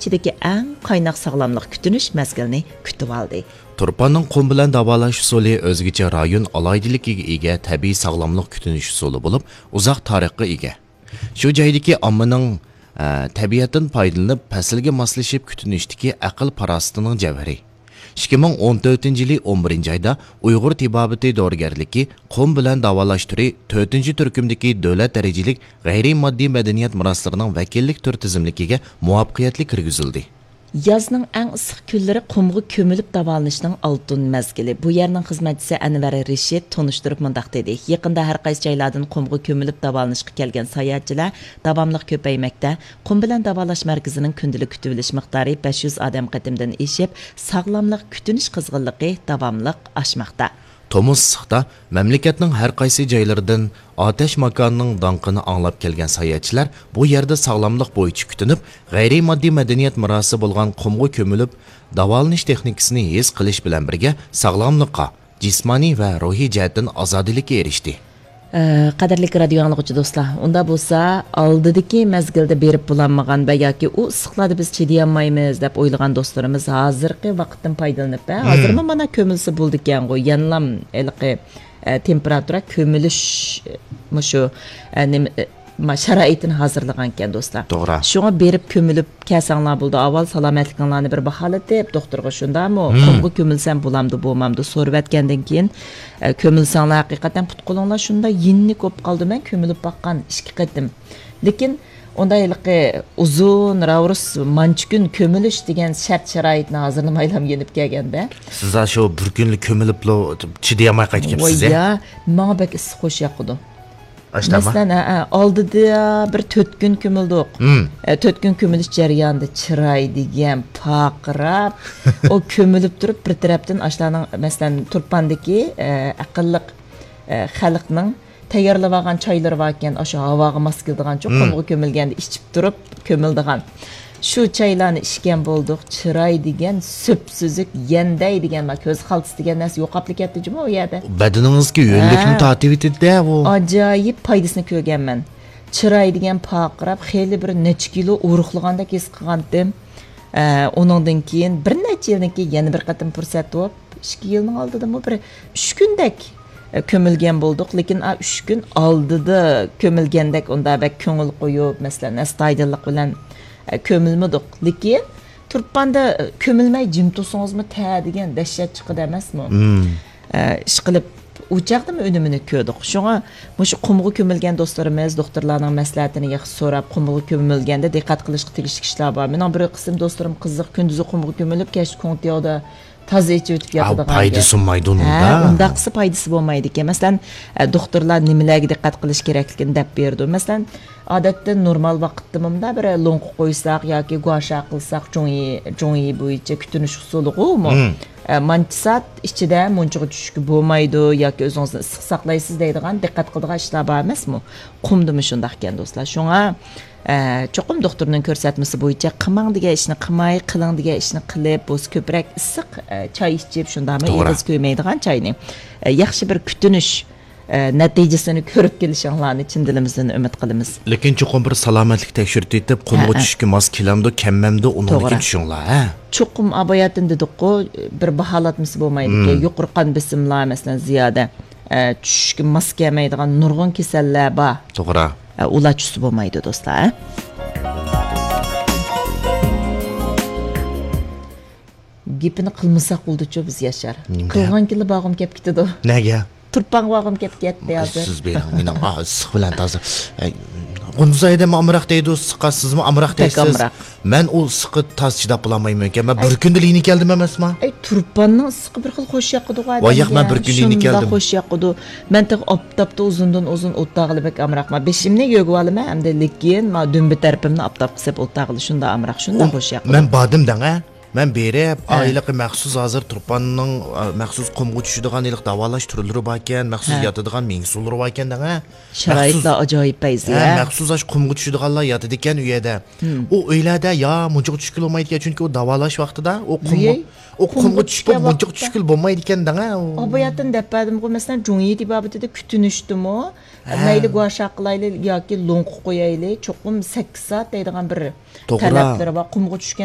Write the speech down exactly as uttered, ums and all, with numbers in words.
ئىچىدىكى ئەڭ قايناق ساغلاملىق كۈتۈنۈش مەزگىلىنى كۈتۈۋالدى. تۇرپاننىڭ قۇم بىلەن داۋالاش ئۇسۇلى ئۆزگىچە رايون ئالاھىدىلىكىگە ئىگە تەبىئىي ساغلاملىق كۈتۈنۈش ئۇسۇلى بولۇپ، ئۇزاق تارىخقا ئىگە. شۇ جايدىكى ئاممىنىڭ، ئە، تەبىئەتتىن پايدىلىنىپ، پەسىلگە ماسلىشىپ كۈتۈنۈشتىكى ئەقىل-پاراسىتىنىڭ جەۋھىرى. ئىككى مىڭ ئون تۆتىنچى يىلى ئون بىرىنچى ئايدا ئۇيغۇر تېبابىتى دورىگەرلىكى قۇم بىلەن داۋالاش تۈرى تۆتىنچى تۈركۈمدىكى دۆلەت دەرىجىلىك غەيرىي ماددىي مەدەنىيەت مىراسلىرىنىڭ ۋەكىللىك تۈر تىزىملىكىگە مۇۋەپپەقىيەتلىك كىرگۈزۈلدى. يازنىڭ ئەڭ ئىسسىق كۈنلىرى قۇمغا كۆمۈلۈپ داۋالىنىشنىڭ ئالتۇن مەزگىلى. بۇ يەرنىڭ خىزمەتچىسى ئەنۋەر رىشىت تونۇشتۇرۇپ مۇنداق دېدى: يېقىندا ھەر قايسى جايلاردىن قۇمغا كۆمۈلۈپ داۋالىنىشقا كەلگەن ساياھەتچىلەر داۋاملىق كۆپەيمەكتە. قۇم بىلەن داۋالاش مەركىزىنىڭ كۈندىلىك كۈتۈۋېلىش مىقدارى بەش يۈز ئادەم قېتىمدىن ئېشىپ، ساغلاملىق كۈتۈنۈش قىزغىنلىقى داۋاملىق ئاشماقتا. تومۇز ئىسسىقتا مەملىكەتنىڭ ھەر قايسى جايلىرىدىن ئاتەش ماكانىنىڭ داڭقىنى ئاڭلاپ كەلگەن ساياھەتچىلەر بۇ يەردە ساغلاملىق بويىچە كۈتۈنۈپ، غەيرىي ماددىي مەدەنىيەت مىراسى بولغان قۇمغا كۆمۈلۈپ، داۋالىنىش تېخنىكىسىنى ھېس قىلىش بىلەن بىرگە، ساغلاملىققا، جىسمانىي ۋە روھىي جەھەتتىن ئازادىلىككە ئېرىشتى. ئە، قەدىرلىك رادىيو ئاڭلىغۇچى دوستلار، ئۇنداق بولسا، ئالدىدىكى مەزگىلدە بېرىپ بولالمىغان ۋە ياكى ئۇ ئىسسىقلاردا بىز چىدىيالمايمىز دەپ ئويلىغان دوستلىرىمىز ھازىرقى ۋاقىتتىن پايدىلىنىپ، ھە، ھازىرمۇ مانا كۆمۈلسە بولىدىكەنغۇ، يەنىلام ھېلىقى، ئە، تېمپېراتۇرا كۆمۈلۈش، مۇشۇ، ئە، نېمە، ئە، ما-، شارائىتىنى ھازىرلىغانىكەن دوستلار. توغرا. شۇڭا بېرىپ كۆمۈلۈپ كەلسەڭلار بولىدۇ. ئاۋۋال سالامەتلىكىڭلارنى بىر باھالىتىپ، دوختۇرغا شۇنداقمۇ، قۇمغا كۆمۈلسەم بولامدۇ، بولمامدۇ سورىۋەتكەندىن كېيىن، ئە، كۆمۈلسەڭلار ھەقىقەتەن پۇت-قولۇڭلار شۇنداق يېنىك بولۇپ قالىدۇ. مەن كۆمۈلۈپ باققان ئىككى قېتىم. لېكىن ئۇندا ھېلىقى ئۇزۇن، راۋۇرۇس، مانچە كۈن كۆمۈلۈش دېگەن شەرت-شارائىتنى ھازىرلىمايلا يېنىپ كەلگەندە. سىز شۇ بىر كۈنلا كۆمۈلۈپلا چىدىيالماي قايتىپ كېلىپسىز، ۋاي يا، ماڭا بەك ئىسسىق خوش ياقىدۇ. ئاشۇنداقمۇ؟ مەسىلەن، ھە، ھە، ئالدىدا بىر تۆت كۈن كۆمۈلدۇق. ئە، تۆت كۈن كۆمۈلۈش جەريانىدا چىراي دېگەن پارقىراپ، ئۇ كۆمۈلۈپ تۇرۇپ، بىر تەرەپتىن ئاشۇلارنىڭ، مەسىلەن، تۇرپاندىكى، ئە، ئەقىللىق، ئە، خەلقنىڭ تەييارلىۋالغان چايلىرى باركەن، ئاشۇ ھاۋاغا ماس كېلىدىغان، چوقۇم قۇمغا كۆمۈلگەندە ئىچىپ تۇرۇپ كۆمۈلىدىغان. شۇ چايلارنى ئىچكەن بولدۇق، چىراي دېگەن سۈپسۈزۈك، يەندەي دېگەن، ما، كۆز خالتىسى دېگەن نەرسە يوقاپلا كەتتى جۇمۇ ئۇ يەردە. بەدىنىڭىزگە ھۆللۈكنى ھە. تارتىۋېتىدۇ-دە ئۇ. ئاجايىپ پايدىسىنى كۆرگەنمەن. چىراي دېگەن پارقىراپ، خېلى بىر نەچچە كىلو ئورۇقلىغاندەك ھېس قىلغانتىم. ئە، ئۇنىڭدىن كېيىن بىر نەچچە يىلدىن كېيىن يەنە بىر قېتىم پۇرسەت بوپ، ئىككى يىلنىڭ ئالدىدىمۇ بىر ئۈچ كۈندەك، ئە، كۆمۈلگەن بولدۇق. لېكىن ئا ئۈچ كۈن ئالدىدا كۆمۈلگەندەك ئۇنداق بەك كۆڭۈل قويۇپ، مەسىلەن، ئەستايىدىللىق بىلەن، ئە، كۆمۈلمىدۇق. لېكىن تۇرپاندا، ئە، كۆمۈلمەي جىم تۇرسىڭىزمۇ تە دېگەن دەھشەت چىقىدۇ ئەمەسمۇ؟ ئە، ئىشقىلىپ، ئۇ چاغدىمۇ ئۈنۈمىنى كۆردۇق. شۇڭا مۇشۇ قۇمغا كۆمۈلگەن دوستلىرىمىز دوختۇرلارنىڭ مەسلىھەتىنى ياخشى سوراپ، قۇمغا كۆمۈلگەندە دىققەت قىلىشقا تېگىشلىك ئىشلار بار. مېنىڭ بىر قىسىم دوستلىرىم قىزىق، كۈندۈزى قۇمغا كۆمۈلۈپ، كەچتە كوڭتياۋدا تازا ئېچىۋېتىپ ياتىدىغان گەپ. پايدىسى بولمايدۇ ئۇنىڭدا. ھە، ئۇنداق قىلسا پايدىسى بولمايدىكەن. مەسىلەن، ئە، دوختۇرلار نېمىلەرگە دىققەت قىلىش كېرەكلىكىنى دەپ بېرىدۇ. مەسىلەن، ئادەتتە نورمال ۋاقىتتا مۇندا بىر لوڭقا قويساق ياكى گۇاشا قىلساق، جۇڭيى، جۇڭيى بويىچە كۈتۈنۈش ئۇسۇلىغۇمۇ، ئە، مانچە سائەت ئىچىدە مۇنچىغا چۈشۈشكە بولمايدۇ ياكى ئۆزىڭىزنى ئىسسىق ساقلايسىز دەيدىغان، دىققەت قىلىدىغان ئىشلار بار ئەمەسمۇ؟ قۇمدىمۇ شۇنداقكەن دوستلار. شۇڭا، ئە، چوقۇم دوختۇرنىڭ كۆرسەتمىسى بويىچە قىلماڭ دېگەن ئىشنى قىلماي، قىلىڭ دېگەن ئىشنى قىلىپ، بولسا كۆپرەك ئىسسىق، ئە، چاي ئىچىپ، شۇنداقمۇ توغرا. ئېغىز كۆيمەيدىغان چاينى، ئە، ياخشى بىر كۈتۈنۈش ئە، نەتىجىسىنى كۆرۈپ كېلىشىڭلارنى چىن دىلىمىزدىن ئۈمىد قىلىمىز. لېكىن چوقۇم بىر سالامەتلىك تەكشۈرتۈۋېتىپ، قۇمغا ھە، ھە. چۈشۈشكە ماس كېلەمدۇ، كەلمەمدۇ، ئۇنىڭدىن توغرا. كېيىن چۈشۈڭلار، ھە؟ چوقۇم ئاباياتىن دېدۇققۇ، بىر باھالاتمىسى بولمايدىكەن. مم. يۇقىرى قان بېسىملار، مەسىلەن، زىيادە، ئە، چۈشۈشكە ماس كەلمەيدىغان نۇرغۇن كېسەللەر بار. توغرا. ئە، ئۇلار چۈشسە بولمايدۇ، دوستلار، ھە؟ گېپىنى قىلمىساق بولدىچۇ بىز، ياشار. نېمە؟ قىلغانكىنلا بارغۇم كەپ كېتىدۇ. نەگە؟ تۇرپانغا بارغۇم كەپ كەتتى ھازىر. سىز بېرىڭ، مېنىڭ، ئا، ئىسسىق بىلەن تازا. ئەي، غۇنزايدىمۇ ئامراق دەيدۇ، ئىسسىققا سىزمۇ ئامراق بەك دەيسىز. ئامراق. مەن ئۇ ئىسسىققا تازا چىداپ بولالمايمەنكەن. مەن ئەي. بىر كۈندىلا يېنىكەلدىم ئەمەسما؟ ئەي، تۇرپاننىڭ ئىسسىقى بىر خىل خوش ياقىدىغۇ ئادەمگە. ۋاي ياق، مەن بىر كۈن شۇنداق يېنىكەلدىم. خوش ياقىدۇ. مەن تېخى ئاپتاپتا ئۇزۇندىن ئۇزۇن ئولتۇرغىلى بەك ئامراقما. بېشىمنى يۆگىۋالىمەن ئەمدى، لېكىن ما دۈمبە تەرىپىمنى ئاپتاپقا سېلىپ ئولتۇرغىلى شۇنداق ئامراق، شۇنداق ئۇ، خوش ياقىدۇ. مەن باردىم دەڭ، ھە؟ مەن بېرىپ، ھە. ئا، ھېلىقى مەخسۇس ھازىر تۇرپاننىڭ، ئا، مەخسۇس قۇمغا چۈشىدىغان ھېلىقى داۋالاش تۈرلىرى باركەن، مەخسۇس ھە. ياتىدىغان مېڭە سۇلىرى باركەن دەڭە. شارائىتلار مەخسۇس، ئاجايىپ پەيزى، ھە، ھە. مەخسۇس ئاشۇ قۇمغا چۈشىدىغانلار ياتىدىكەن ئۇ يەردە. ھىم. ئۇ ئۆيلەردە يا مۇنچىغا چۈشكىلى بولمايدىكەن، چۈنكى ئۇ داۋالاش ۋاقتىدا ئۇ قۇمغا، ئۆي، ئۇ قۇمغا قۇمغا چۈشۈپ چۈشكەن مۇنچىغا ۋاقىتتا. چۈشكىلى بولمايدىكەن دەڭە. ئۇ. ئاباياتىن دەپ بەردىمغۇ، مەسىلەن، جۇڭيى تېبابىتىدە كۈتۈنۈشتىمۇ، ھە. مەيلى گۇاشا قىلايلى ياكى لوڭقا قويايلى، چوقۇم سەككىز سائەت دەيدىغان بىر توغرا. تەلەپلىرى بار. قۇمغا چۈشكەن